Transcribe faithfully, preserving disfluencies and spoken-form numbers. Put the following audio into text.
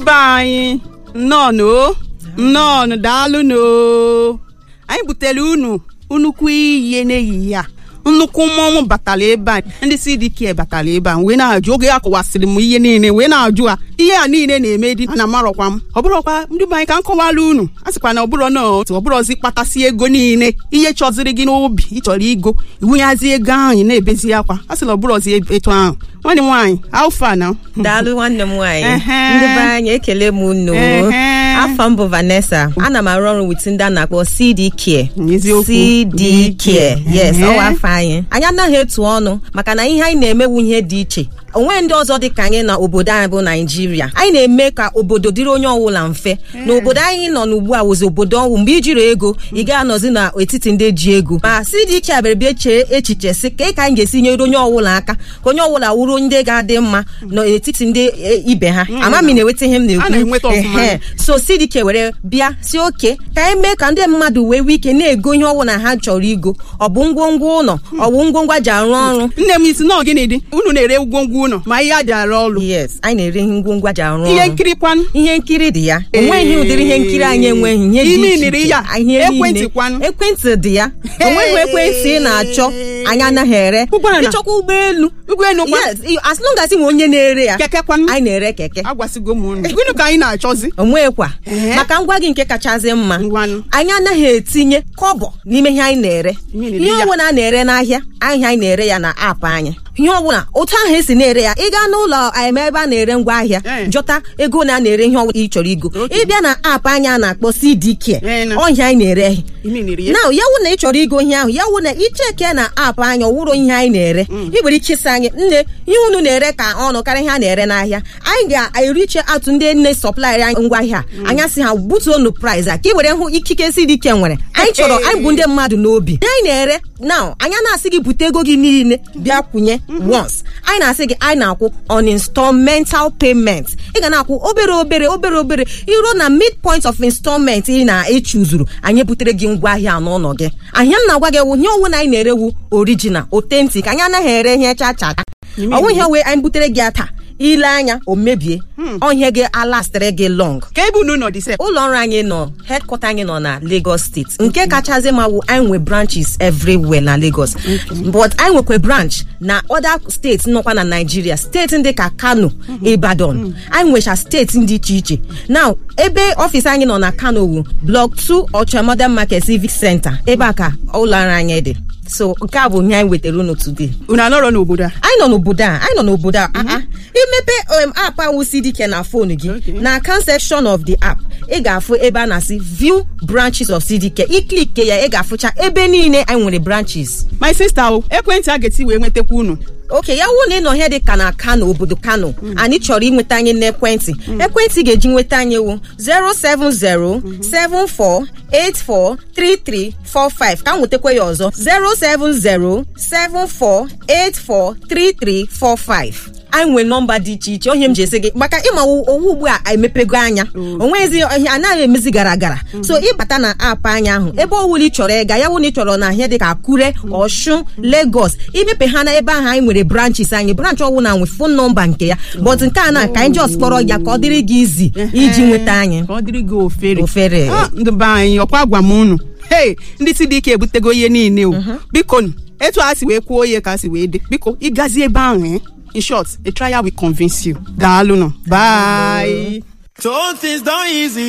Be anyị, nnọọnụ o, nnọọnụ, daalụnụ o. Anyị butere unu nnukwu ihe n'ehihie a. Nnukwu mmọnwụ batara ebe a, ndị C D K batara ebe a wee na-ajụ. Oge ya kọwasịrị m ihe niile wee na-ajụ ha ihe a niile na-eme dị ana amarọkwa m. Ọ bụrọkwa ndị be anyị ka m kọwara unu. A sịkwa na ọ bụrọ na otu ọ bụrọzi kpatasị ego niile ihe chọziri gị n'obi ịchọrọ igo iwunyazi ego ahụ ị na-ebezi akwa. A sị na ọ bụrọzi etu ahụ. Nwanne m nwaanyị, alfa na Daalụ, nwanne m nwaanyị. Ehe. Ndị be anyị, ekele m unu. Ehe. Afọ m bụ Vanessa. Ana m arụ ọrụ with ndị a na-akpọ C D Care. Eziokwu. C D Care, yes. Ehe. Ọwa afọ anyị, anyị anaghị etu ọnụ maka na ihe anyị na-emewu ihe dị iche. Onwe ndị ọzọ dị ka anyị na obodo anyị bụ Naijiria. Anyị na-eme ka obodo dịrị onye ọbụla mfe. Na obodo anyị nọ n'ugbu a wụzi obodo ọnwụ. Mgbe ijiri ego, ị ga-anọzi n'etiti ndị ji ego. Ma C D Care bịara bịa chee echiche sị ka ka anyị ga-esi nyere onye ọbụla aka, ka onye ọbụla wuru ndị ga-adị mma n'etiti ndị e, ibe ha. Ama m ị na-enweta ihe m A na-ekwu? Na-enweta ọfụma. Ehe. So C D K were bịa si oke ka anyị mee ka ndị mmadụ wee nwee ike na-ego ihe ọbụla ha chọrọ igo, ọ bụ ngwongwo ụlọ, ọ bụ ngwongwo ji arụ ọrụ. Nne m, isi nọọ gịnị dị unu na-ere ngwongwo ụlọ ma ihe a ji arụ ọrụ? Yes, anyị na-ere ihe ngwongwo ji arụ Ihe ọrụ. nkiri kwanụ? Ihe nkiri dị ya. Onweghị ụdịrị ihe nkiri anyị enweghị, ihe dị Ime iche niri iche. ya. Ihe niile. Ekwentị kwanụ? Ekwentị dị ya. Onweghị ekwentị ị na-achọ anyị anaghị ere. Ụgbọala? Ịchọkwa ụgbọelu? Ụgbọelu kwa? Yes, as long as ị nwe onye na-ere ya. Keke kwanụ? Anyị na-ere keke. Agwasịgo m unu, gịnị ka anyị na-achọzi? Onwekwa Ee. maka ngwa gị nke kachasị mma. Ngwanụ. Anyị anaghị etinye kọbọ n'ime ihe anyị na-ere. Ihe na-ere Ihe ya. ọbụla a na-ere n'ahịa ahịa, anyị na-ere ya na app anyị. Ihe ọbụla otu ahụ esi na-ere ya, ị gaa n'ụlọ em ebe a na-ere ngwa ahịa, Ee. jọta ego na a na-ere ihe ọbụla ị chọrọ igo. Ịbịa na app anyị a na-akpọ C D K, Ee, na. ọhịa anyị na-ere. Ime niri ya. Na ya wụ na ị chọrọ igo ihe ahụ, ya wụ na icheke na app anyị, ọwụrụ ihe anyị na-ere, ị nwere ike ịsị anyị, "Nne, ihe unu na-ere ka ọnụ karịa ihe a na-ere n'ahịa." Anyị ga-eriche atụ ndị nne supplier anyị ngwaahịa a. Anyị asị ha butuonu price a ka ị were hụ ikike C D K nwere. Anyị chọrọ anyị bụ ndị mmadụ n'obi. Ihe anyị na-ere now, anyị na-asị gị bute ego gị niile bịa kwụnye once. Anyị na-asị gị anyị na-akwụ on installmental payment. Ị ga na-akwụ obere obere, obere obere, iruo na midpoint of installment ị na-echuzuru, anyị butere gị ngwaahịa n'ụlọ gị. Ahịa m na-agwa gị wụ ihe owu na anyị na-erewu original, authentic. Anyị anaghị ere ihe cha cha. Ọnwụ ihe wee anyị butere gị ya taa, ile anya o mebie ọhịa gị, alastịrị gị long. Ka ebe unu nọ dị sef? Ụlọ ọrụ anyị nọ, headquarter anyị nọ na Lagos Steeti. Nke kachasị ma wụ anyị nwe branches everywhere na Lagos, but anyị nwekwa branch na other steeti nọkwa na Nigeria, steeti ndị ka Kano, Ibadan. Anyị nwecha steeti ndị iche iche. Now, ebe ọfịs anyị nọ na Kano wu Block two, Ọcha Modern Market, Civic Center. Ebe a ka ụlọ ọrụ anyị dị. So nke a bụ ihe anyị wetara unu today. Unu anọrọ n'obodo a? Anyị nọ n'obodo a, anyị nọ n'obodo a. Ah, ah. Imepe um, app ahụ C D K na phone gị, Okay. na account section of the app, ị ga-afụ ebe a na-asị "View branches of C D K". I click ya, ị ga-afụcha ebe niile anyị nwere branches. My sister o, ekwentị a ga-eti wee nwetakwa unu? Ok, ya wụ na ị nọ ihe dị ka na Kano, obodo Kano, anyị chọrọ inweta anyị n'ekwentị. Ekwentị ga-eji nweta anyị wụ efu asaa efu asaa asaa four eight four three three four five. Ka m nwetakwa ya ọzọ: efu asaa efu asaa four eight four three three four five. Anyị nwere nọmba dị iche iche. Onye m ji esi gị maka ịma owu ugbu a emepego anya, onwezi ihe anaghị emezi gara gara. So ịbata na app anyị ahụ, ebe ọwụla ị chọrọ ịga, ya wụ na ị chọrọ na ahịa dị ka Akure, Ọshun, Lagos, imepe ha na ebe ahụ anyị nwere branches anyị. Branch ọwụla nwe phone nọmba nke ya, but nke a na ka anyị just kpọrọ ya ka ọ dịrị gị izi iji nweta anyị. Ka ọ dịrị gị ofere. Ofere. Ah, ndị be anyị, ọkwa gwa m unu, hei, ndị C D K ebutego ihe niile o. Biko nụ, etu a si wee kwuo ihe ka a si wee dị. Biko, ịgazi ebe ahụ, eh? In short, a trial will convince you. Daalụ nụ, bye. So things done easy.